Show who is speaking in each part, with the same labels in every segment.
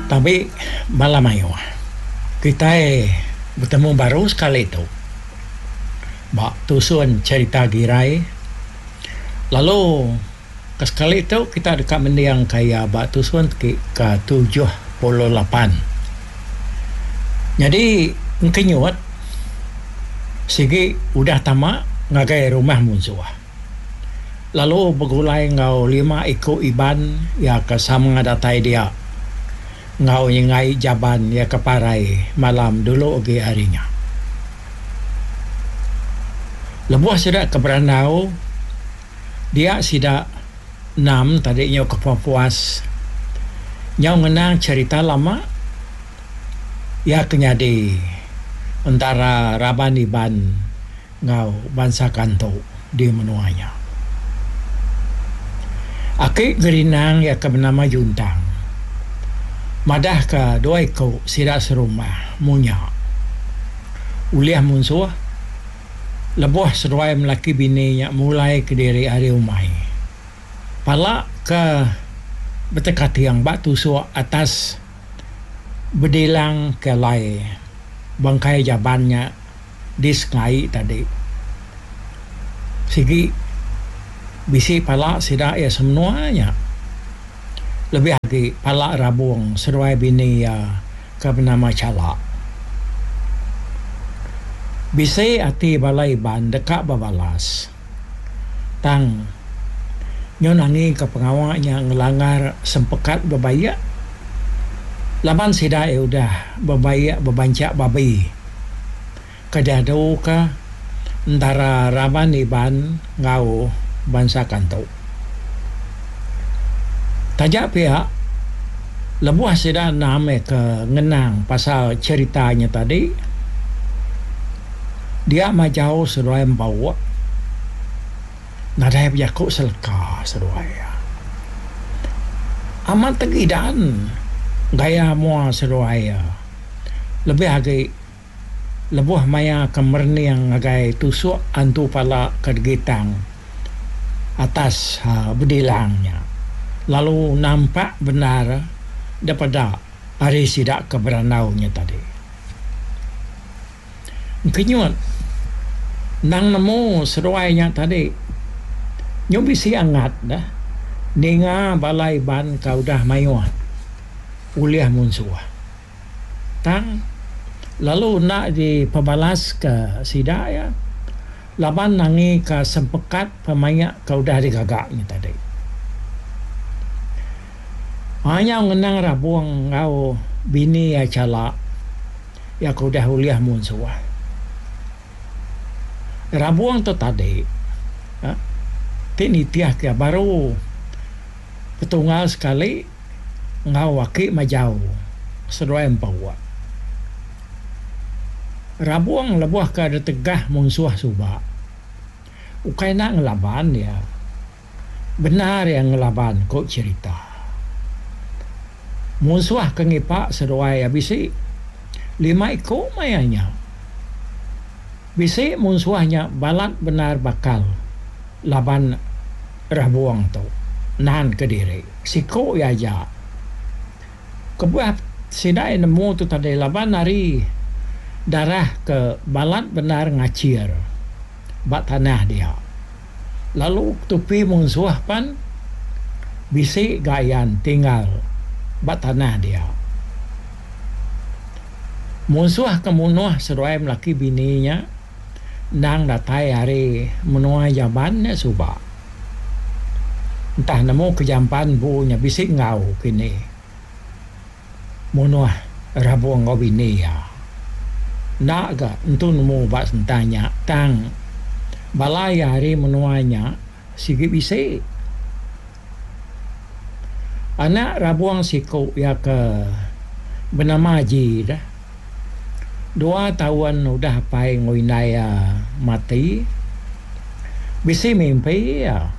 Speaker 1: Tabi bala mayuh. Kitai betemu baru sekali tu ba tusun cherita Girai lalu ke sekali tu kita deka mendingka iya ba tusun ti ke 78. Nyadi Engkenyut sigi udah tama ngagai rumah munsuh. Lalu begulai enggau lima iku Iban iya ke sama datai dia enggau nyenggai jaban iya ke parai malam dulu agi ari nya. Lebuh sida ke berandau dia sida enam tadi nyau ke puas-puas nyau ngenang cherita lama iya ke nyadi entara raban Iban enggau bansa Kantu di menua nya. Aki Gerinang iya ke benama Juntang madahka dua iku sida serumah munya ulih munsuh lebuh seduai melaki bini nya mulai kediri ari umai. Pala ke betekating ba tusuk atas bedilang ke alai bangkai jaban nya. Di sengai tadi sigi bisi pala sida iya semenua nya. Lebih agi pala Rabong seduai bini iya ke benama Chala. Bisi ati bala Iban deka bebalas. Tang, nyau nangika pengawa nya ngelanggar sempekat bebaik laban sida iya udah bebaik bebanchak babi ke diaduka entara raban Iban enggau bansa Kantu. Taja pia, lebuh sida enam iya ke ngenang pasal cherita nya tadi, Dia majau seduai embauk nadai bejaku seleka seduai iya. Amat tegidan gaya mua seduai iya lebih agi lebuh maya ke merening ngagai tusuk antu pala ke digitang atas bedilang nya lalu nampak bendar depeda ari sida ke berandau nya tadi. Engkenyut endang nemu seduai nya tadi nyu bisi angat deh ninga bala Iban ka udah mayuh ulih munsuh. Tang lalu enda dipebalaska sida iya laban nangika sempekat pemaik ka udah digaga nya tadi. Mayau ngenang Rabong enggau bini iya Chala iya ke udah ulih munsuh. Rabong tu tadi ti nitih ke baru petunggal sekali enggau aki majau seduai empu. Rabong lebuh ke ditegah munsuh suba ukai enda ngelaban iya. Bendar iya ngelaban, ku cherita. Munsuh ke ngipa seduai iya bisi lima iku maya nya. Bisi munsuh nya balat bendar bakal laban Rabung tu nan kediri siku iya aja. Kebuah sida iya nemu tu tadi laban ari darah ke balat bendar ngachir ba tanah dia. Lalu tupi munsuh pan bisi ga ayan tinggal ba tanah dia. Munsuh ke munuh seduai melaki bini nya endang datai ari menua Jaban nya suba. Entah nemu ke jampan empu nya bisi enggau kini. Munuh Rabung enggau bini iya. Enda ga entu nemu ba sentang nya tang bala iya ari menua nya sigi bisi. Anak Rabung siku iya ke benama Aji deh. Dua taun udah apai enggau indai iya mati bisi mimpi iya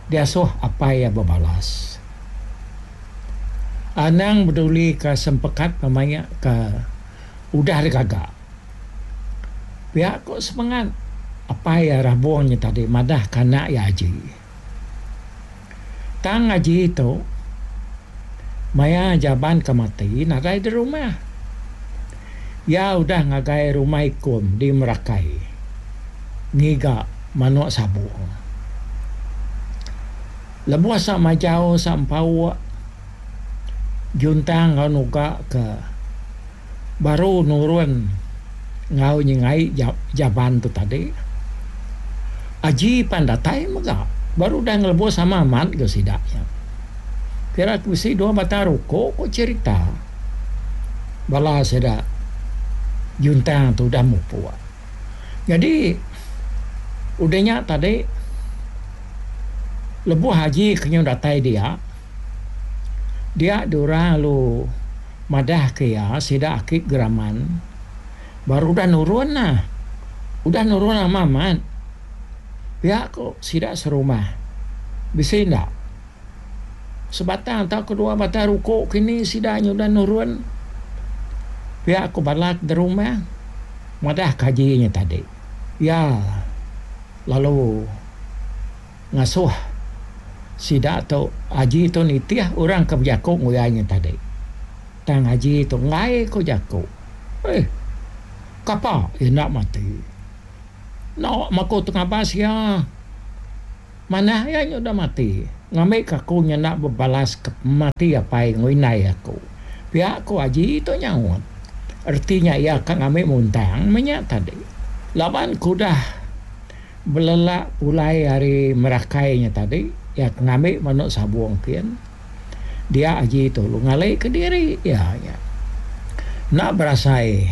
Speaker 1: diasuh apai iya bebalas. Anang bedulika sempekat pemaik ke udah digaga. Pia ku semengat apai iya Rabong nya tadi madahka anak iya Aji. Tang Aji tu Maya Jaban ke mati nadai di rumah. Iya udah ngagai rumah Ikum di Merakai ngiga manuk sabung. Lebuh sa majau sa empauk Juntang enggau Nuga ke baru nurun enggau nyengai Jaban tu tadi, Aji pan datai mega baru udah ngelebuh sama amat ga sida nya. Kira ke bisi dua batang ruko ko cherita bala sida Juntang tu udah mupuk. Nyadi udah nya tadi lebuh Aji ke nyau datai dia, dia diorang lalu madah ke iya sida aki Geraman baru udah nurun nah. Udah nurun amat amat pia ko sida serumah bisi enda sebatang tauka dua batang ruko kini sida nya udah nurun pia ko bala ke derumah madah ke haji nya tadi. Iya lalu. Ngasuh sida tu Haji tu nitih orang ke bejaku nguyai nya tadi. Tang Haji tu enggai ku jaku. Eh. Kapa iya enda mati. Enda maku tengabas iya. Manah iya nya udah mati. Ngambika aku nya enda bebalas ke pemati apai enggau indai aku. Pia ku Haji tu nyaut. Reti nya iya ka ngambi muntang meh nya tadi. Laban ku udah. Belelak pulai ari Merakai nya tadi, iya ke ngambi manuk sabung kin. Dia aji tu lalu ngali kediri iya nya. Enda berasai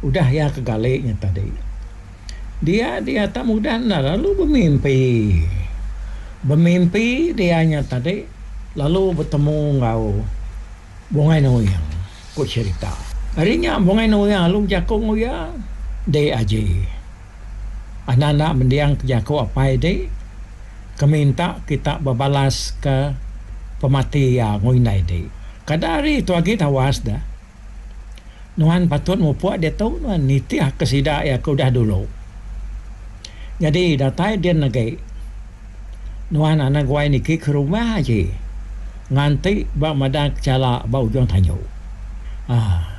Speaker 1: udah iya ke gali nya tadi. Dia dia tak mudah enda lalu bemimpi. Bemimpi dia nya tadi lalu betemu enggau Bungai Nuing, ku cherita. Ari nya Bungai Nuing lalu bejaku enggau iya, Dek aji. Anak enda mending ke jaku apai di ke minta kita bebalas ke pemati iya enggau indai di. Kada hari tu agi tawas deh. Nuan patut mupuk diatu nuan nitih ke sida iya ke udah dulu. Nyadi datai din agi nuan anang guai niki ke rumah aji nganti ba madang kechala ba ujung tanju. Aaa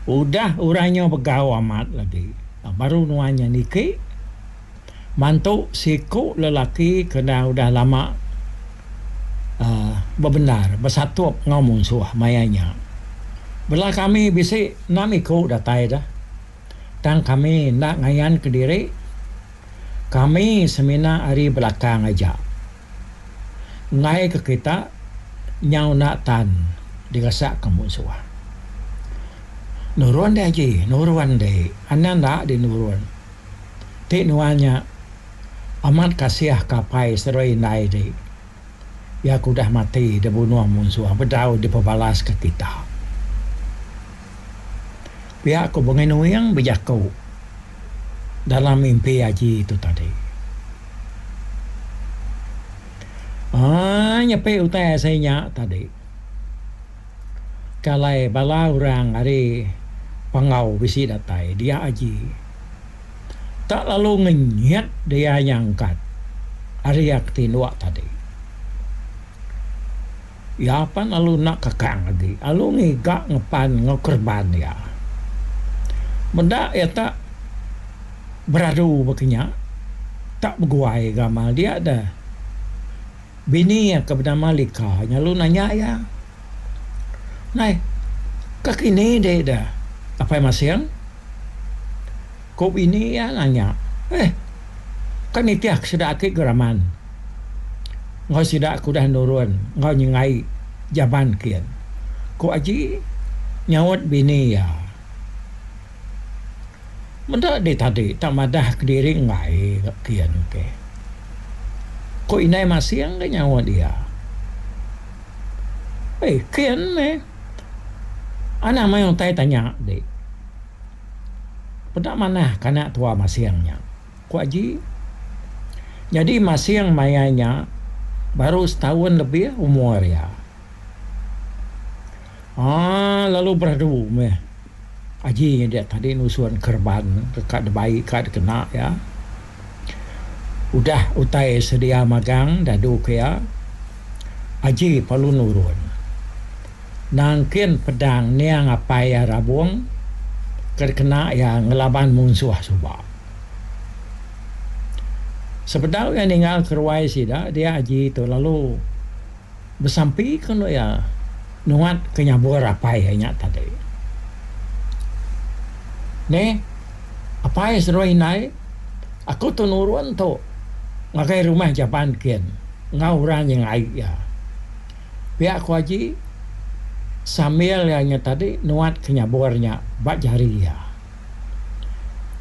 Speaker 1: udah orang nyau begau amat lagi. Baru nuan nya niki mantu siku lelaki ke endang udah lama bebendar besatup enggau munsuh maya nya. Bela kami bisi enam iku datai deh. Tang kami enda ngayan kediri, kami semina ari belakang aja. Enggai ke kita nyau enda tan diresak ke munsuh. Nurun deh aji, nurun deh. Anang enda deh nurun. Ti nuan nya amat kasih ke apai seduai indai deh. Iya ke udah mati dibunuh munsuh bedau dipebalas ke kita. Pia ku Bungai Nuing bejaku dalam mimpi aji tu tadi. Aaa nyepi utai asai nya tadi. Ke alai bala orang ari Panggau bisi datai dia aji. Tak lalu ngenyit dia nyangkat ari iya ke tinduk tadi. Iya pan lalu enda kekang agi lalu ngiga ngepan enggau kereban iya. Meda iya tak beradu baka nya tak beguai gamal dia deh. Bini iya ke benama Lika nya lalu nanya iya, Nai, ka kini deh da Apai Masing? Ku bini iya nanya, Eh, ka nitih ke sida aki Geraman enggau sida ke udah nurun enggau nyengai jaban kin, ku Aji nyaut bini iya. Meda dih tadi tak madah kediri enggai ga kin ke. Ku indai Masing ga nyaut iya. Eh kin meh. Anang mayuh utai tanya dik. Peda manah ka anak tua Masing nya, ku Aji. Nyadi Masing maya nya baru setaun lebih umur iya. Aaa lalu beradu meh. Aji nya dia tadi nusun kereban ke ka dibai ka dikena iya. Udah utai sedia magang dadu ke iya, Aji perlu nurun. Nangkin pedang niang apai iya Rabong ke dikena iya ngelaban munsuh suba. Sebedau iya ninggal ke ruai sida dia Aji tu lalu besampi ke endo iya nuat ke nyabur apai iya nya tadi. Neh apai seduai indai aku tu nurun tu ngagai rumah jaban kin enggau orang nyengai iya. Pia ku Aji sambil iya nya tadi nuat ke nyabur nya ba jari iya.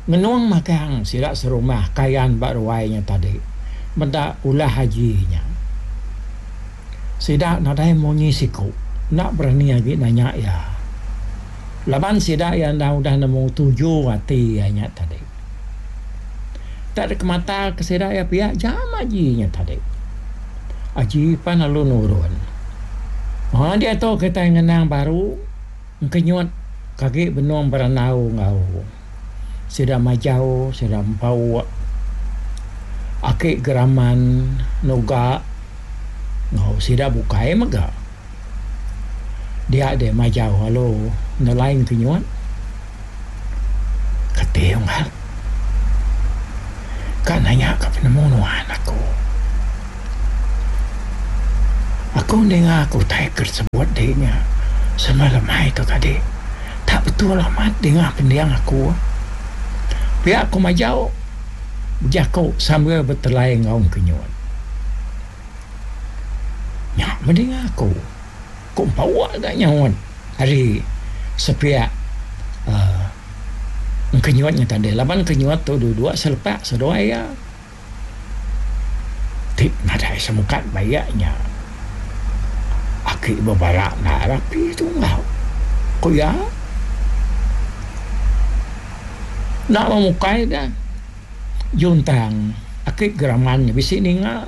Speaker 1: Ngenung magang sida serumah kayan ba ruai nya tadi meda ulah Haji nya. Sida nadai munyi siku enda berani agi nanya iya laban sida iya endang udah nemu tuju ati iya nya tadi. Tak dikemata ke sida iya pia jam Haji nya tadi. Haji pan lalu nurun. Haa diatu kitai ngenang baru. Engkenyut ke agi benung berandau enggau sida majau sida empu aki geraman nuga enggau sida bukai mega. Dia deh majau lalu nelai engkenyut keti unggal ka nanya ka penemu nuan aku. Aku ninga ku utai ke disebut dih nya sama lemai tu tadi. Tak betul amat dinga pending aku. Pia ku majau bejaku sambil betelai enggau engkenyut. Nya meh dinga aku. Ku empauk ga nyaut ari sepiak uhh engkenyut nya tadi laban engkenyut tu duduk selepak seduai iya. Ti nadai semukat bayak nya aki bebara enda rapi tungau, ku iya. Enda memukai ga juntang aki geraman nya bisi ninga.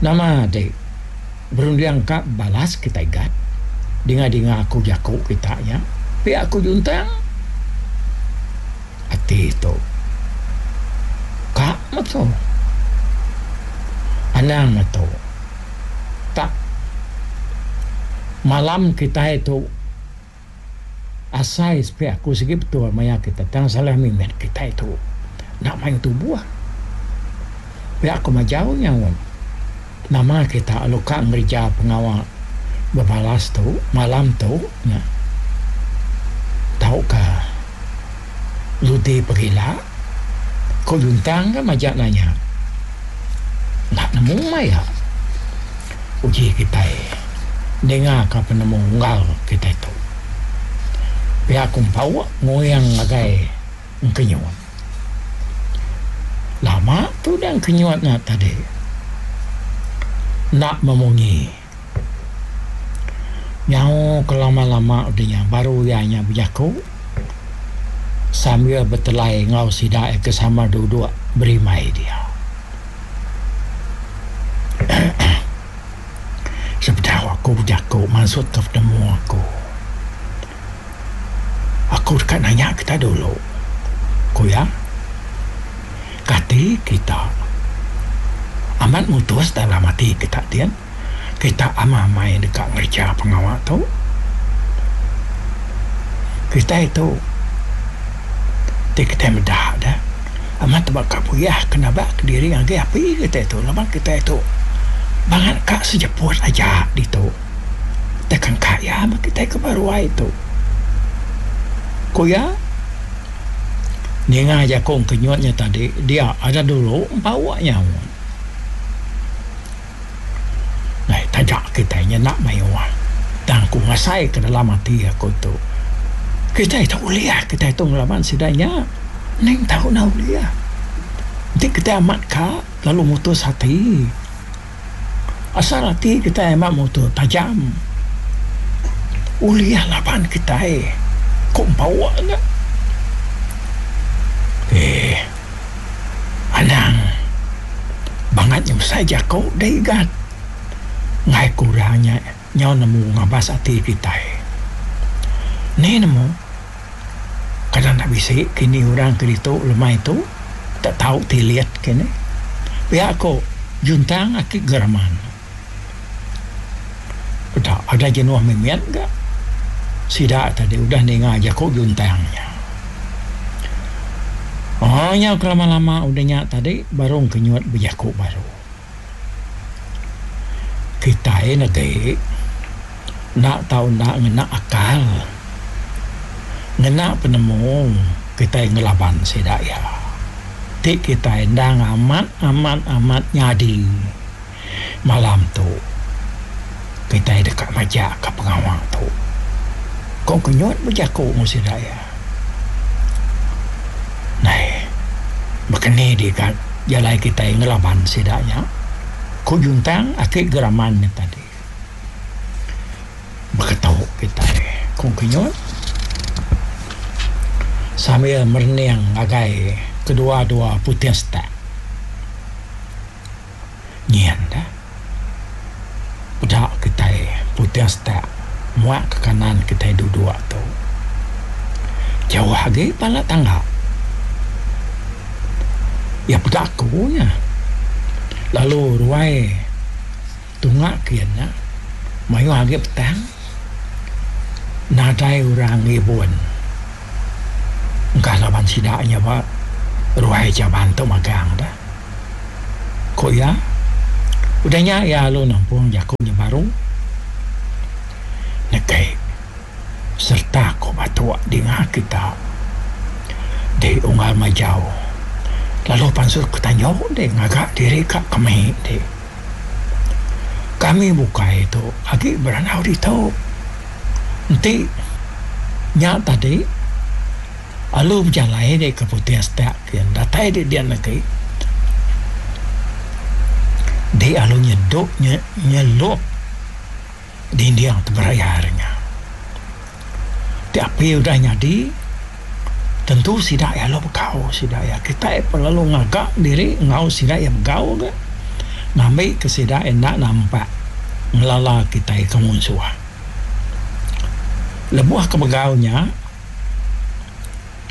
Speaker 1: Nama ti berunding ka balas kitai gat dinga-dinga aku jaku kita nya pia ku juntang. Ati tu ka metu. Anang metu. Tak malam kitai tu asai sepi aku sigi betul maya kita tang salah mimit kitai tu enda mayuh tubuh. Pia ku majau nyaut nama kita lalu ka ngereja pengawa bebalas tu malam tu nya tauka Ludi pegila, ku Juntang ga majak nanya. Enda nemu maya. Uji kitai ninga ka penemu unggal kitai tu. Pia ku Empauk nguing ngagai Engkenyut. Lama tu udah Engkenyut nya tadi enda memunyi. Nyau ke lama-lama udah nya baru iya nya bejaku sambil betelai enggau sida iya ke sama duduk berimbai dia. Sebedau aku bejaku mansutka penemu aku, aku deka nanya kita dulu, ku iya. Kati kita amat mutus dalam ati kita din? Kita amai-amai deka ngereja pengawa tu. Kitai tu ti kitai meda deh amat tebaka puyah ke nabak kediri ngagai api kitai tu laban kitai tu bangat ka sejeput aja ditu tekan ka iya meh kitai ke ba ruai tu. Ku iya ninga jaku engkenyut nya tadi dia ada dulu empauk nyaut. Nai taja kitai nya enda mayuh tang aku ngasai ke dalam ati aku tu kitai tu ulih kitai tu ngelaban sida nya ning tau enda ulih enti kitai amat ka lalu mutus ati asal ati kitai amat mutus tajam ulih laban kitai ku empauk nya eeh. Anang bangat nyusai jaku deh igat. Enggai ku orang nya nyau nemu ngabas ati kitai. Ni nemu kadang enda bisi kini orang ke ditu lemai tu tak tau tilit kini. Pia ku Juntang aki Geraman. Peda ada jenuh mimit ga sida tadi udah ninga jaku juntang nya. Aaa nyau kelama-lama udah nya tadi baru engkenyut bejaku baru. Kitai negi enda tau enda ngena akal ngena penemu kitai ngelaban sida iya. Ti kitai endang amat amat amat nyadi. Malam tu, kitai deka majakka pengawa tu. Ko Kenyut bejaku enggau sida iya. Nai, baka ni diga jalai kitai ngelaban sida nya? Ku Juntang aki Geraman nya tadi. Baka tu kitai, ku Kenyut sambil merening ngagai kedua-dua puting setak. Nyin dah. Peda kitai putih setak muak ke kanan kitai duduk tu. Jauh agi pala tangga. Iya peda aku nya. Lalu ruai tunga kin nya mayuh agi petang nadai orang ngibun. Engka laban sida nya ba ruai jaban tu magang dah. Ku iya, udah nya iya lalu nampung jaku nya baru nekai sereta ku batuk dinga kita di unggal majau lalu pansut ke tanjung deh ngaga diri ka kemi deh. Kami bukai tu agi berandau ditu enti nya tadi. Alu bejalai dek ke putih setak kin datai dek dian agi dek alu nyedok nyelup dinding teberayar nya. Ti api udah nyadi tentu sida iya lalu begau sida iya kitai pun lalu ngaga diri enggau sida iya begau ga ngambi ke sida enda nampak ngelala kitai ke munsuh. Lebuh ke begau nya.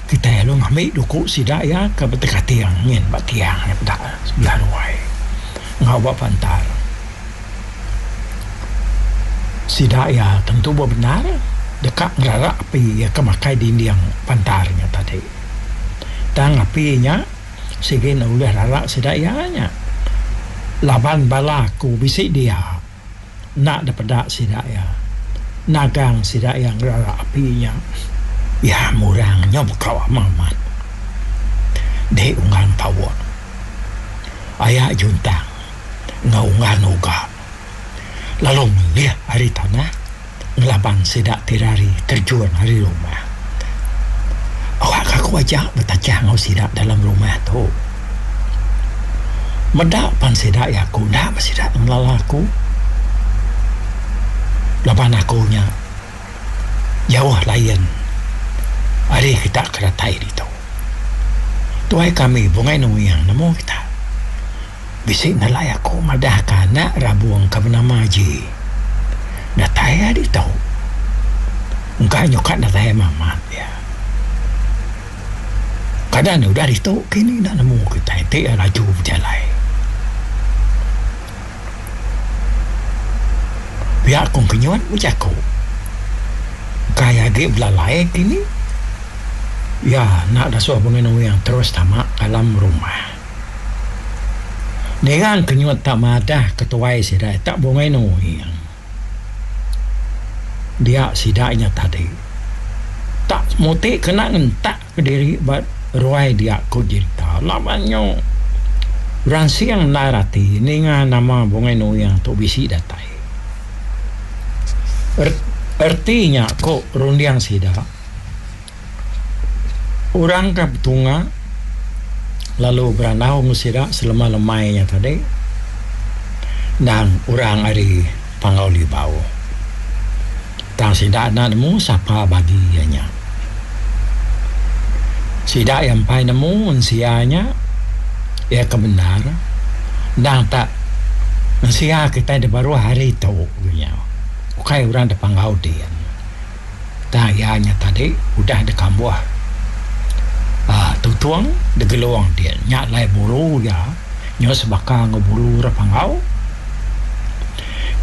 Speaker 1: Kitai lalu ngambi duku sida iya ke betekating nyin ba tiang nya peda sebelah ruai enggau ba pantar. Sida iya tentu bebendar deka ngerara api iya ke makai dinding pantar nya tadi. Tang api nya sigi enda ulih rara sida iya nya laban bala aku bisi dia. Enda dipeda sida iya. Nagang sida iya ngerara api nya. Iya murang nyau bekau amat amat. Dek unggan pauk. Aya juntang enggau unggan uga lalu melih ari tanah ngelaban sida ti rari terjun ari rumah. Awak ka aku aja betajah enggau sida dalam rumah tu. Meda pan sida iya aku enda meh sida ngelala aku. Laban aku nya jauh lain ari kita ke datai ditu. Tuai kami Bungai Nuing nemu kita. Bisi nelai aku madahka anak Rabung ke benama Ji datai iya ditu. Engka nyukat datai amat iya. Kada ne udah ditu kini enda nemu kitai ti iya laju bejalai. Pia ku Kenyut bejaku. Kai agi belalai kini iya enda dasuh Bungai Nuing terus tama dalam rumah. Ninga kenyut tak madah ketuai sida tak bungai nuing. Dia sida nya tadi tak muti kena ngentak kediri ba ruai dia ku jerita laban nyu ransing endar ati ninga nama bungai nuing tu bisi datai. Erti nya ku runding sida. Orang ke betunga lalu berandau enggau sida selama lemai nya tadi endang orang ari Panggau Libau. Tang sida enda nemu sapa bagi iya nya. Sida iya empai nemu mensia nya iya ke bendar endang tak mensia kitai da baruh hari tu nya ukai orang da Panggau din. Tang iya nya tadi udah dikambuh uhh tutung digelung ti nya alai bulu iya nyau sebaka enggau bulu orang panggau.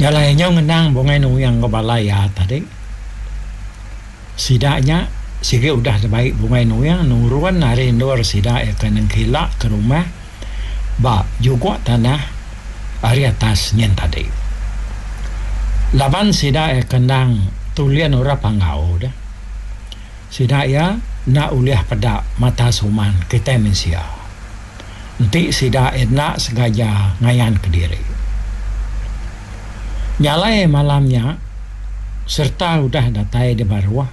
Speaker 1: Nya alai nyau ngenang Bungai Nuing enggau bala iya tadi. Sida nya sigi udah dibai Bungai Nuing nurun ari endur sida iya ke nengkila ke rumah ba juguk tanah ari atas nyin tadi. Laban sida iya ke endang tulin orang Panggau deh. Sida iya enda ulih peda mata suman kitai mensia enti sida enda sengaja ngayan kediri. Nya alai malam nya sereta udah datai di baruh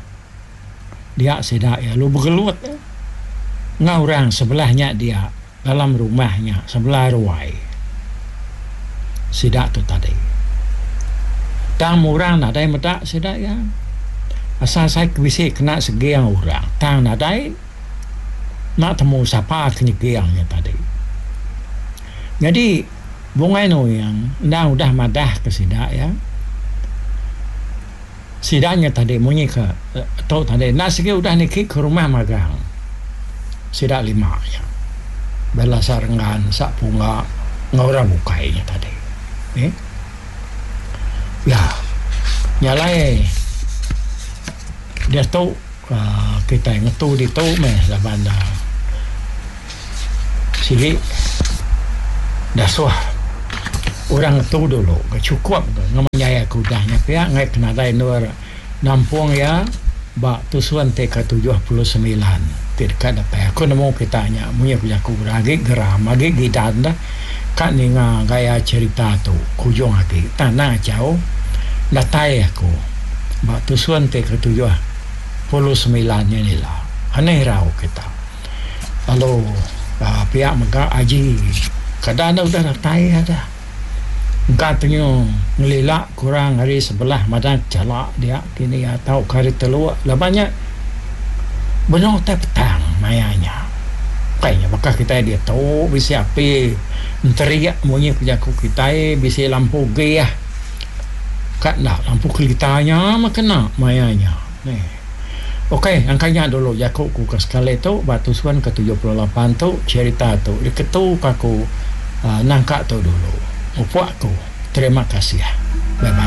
Speaker 1: dia sida iya lalu begelut enggau orang sebelah nya dia dalam rumah nya sebelah ruai sida tu tadi. Tang orang nadai meda sida iya asal sai ke bisi kena seging orang tang nadai enda temu sapa ke nyeging nya tadi. Nyadi Bungai Nuing endang udah madah ke sida iya. Sida nya tadi munyi ke tu tadi enda sigi udah niki ke rumah magang sida lima nya. Bala sa Renggan, sa Pungga enggau orang bukai nya tadi. Nih. Ya. Nya alai diatu uhh kitai ngetu ditu meh laban ne sigi dasuh orang ngetu dulu ke chukup ke ngemenyai aku udah nya pia enggai ke nadai endur nampung iya ba tusun ti ke 79 ti deka datai. Aku nemu kita nya munyi ku jaku orang agi geram agi gidan deh ka ninga gaya cherita tu kujung agi tang anang achau datai aku ba tusun ti ke 79 nya ila. Anih irau kita. Lalu pia mega aji kada enda udah datai ada. Engka tenyu ngelila kurang ari sebelah madah chala dia kini tauka ari teluk laban nya benung utai petang maya nya. Ukai nya baka kitai diatu bisi api enterik munyi ku jaku kitai bisi lampu gih ka enda lampu kerita nya meh kena maya nya. Ok angka nya dulu jaku ku ke sekali tu ba tusun ke 78 tu cherita tu diketu ka ku nangka tu dulu. Mupuk aku. Terima kasih. Bye bye.